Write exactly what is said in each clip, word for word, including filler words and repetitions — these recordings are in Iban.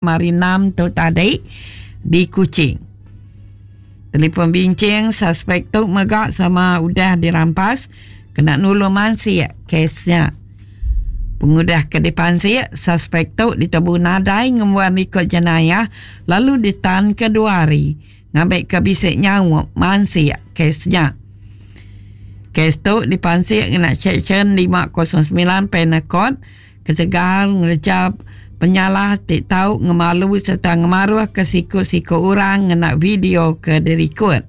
Hari enam tu tadi di Kuching. Telefon bincing suspek tu mega sama udah dirampas kena nulung mansik kesnya. Pengudah ke dipansik, suspek tu ditebu nadai ngembuan rekod jenayah lalu ditan ke dua hari ngambil ke bisik nyawa mansik kesnya. Kes tu dipansik ngena Seksyen lima kosong sembilan Penal Code ketegal ngerja penyalah ti tau ngemalu serta ngemaruh ke siku-siku orang ngena video ke direkod.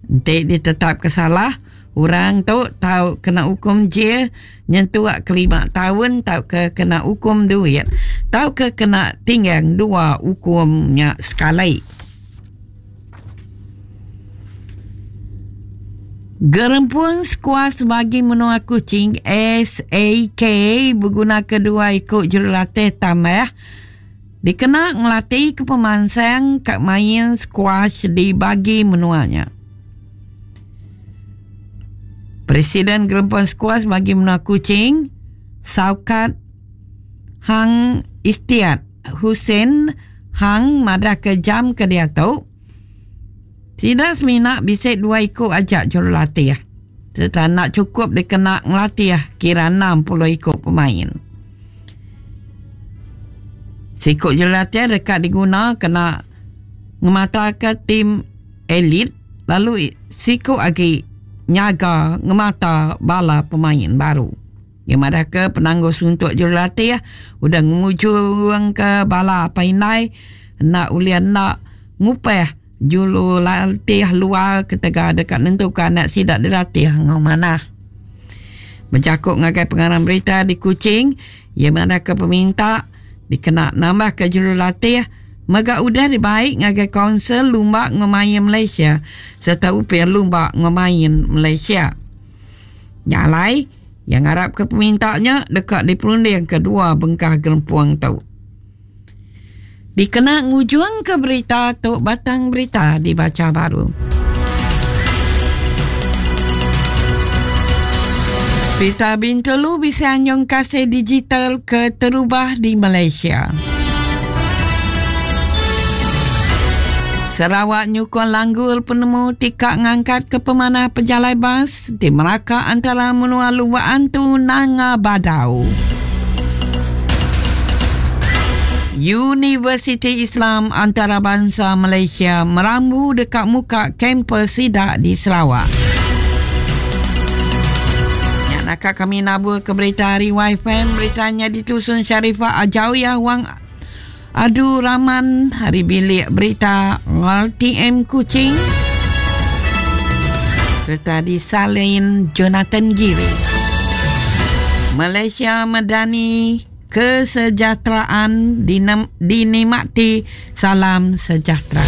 Enti ditetap ke salah, orang tu tau kena hukum jail nyentuk ke lima tahun tau ke kena hukum duit tau ke kena tinggang dua hukumnya sekali. Gerempung Skuas bagi menua Kuching S A K berguna kedua ikut jurulatih tambah dikena ngelatih ke pemansang kat main squash di bagi menuanya. Presiden Gerempung Skuas bagi menua Kuching Saukat Hang Istiat Hussein Hang madah ke jam ke dia tu tidak semina bisa dua ikut ajak jurulatih. Serta nak cukup dikena ngelatih kira enam puluh ikut pemain. Sikut jurulatih dekat diguna kena ngemata ke tim elit lalu sikut lagi nyaga ngemata bala pemain baru. Yang madah ke penangguh suntuk jurulatih udah ngujung ke bala painai nak ulian nak ngupeh julu latih luar ketika dekat nentukan nak sidak dilatih ngau mana. Mencakup ngagai pengarang berita di Kuching, yang mana ke peminta dikena nambah ke juru latih mega udah dibaik ngagai Kaunsil Lumba Ngemain Malaysia serta upir Lumba Ngemain Malaysia. Nyalai yang harap ke pemintanya dekat diperunding kedua bengkah gerempuang tu. Dikena ngujung ke berita tu batang berita dibaca baru. Berita Bintulu bisa anyong kasih digital ke terubah di Malaysia. Sarawak nyukong langgul penemu tikak ngangkat ke pemanah pejalai bas di Melaka antara menua Luak Antu Nanga Badau. Universiti Islam Antarabangsa Malaysia merambu dekat muka kampus sidak di Sarawak. Ya, nakak kami nabur ke berita hari Y F M, beritanya ditusun Sharifah Ajawiyah Wang Adu Rahman, hari bilik berita R T M Kuching serta disalin Jonathan Giri. Malaysia Madani kesejahteraan dinikmati, salam sejahtera.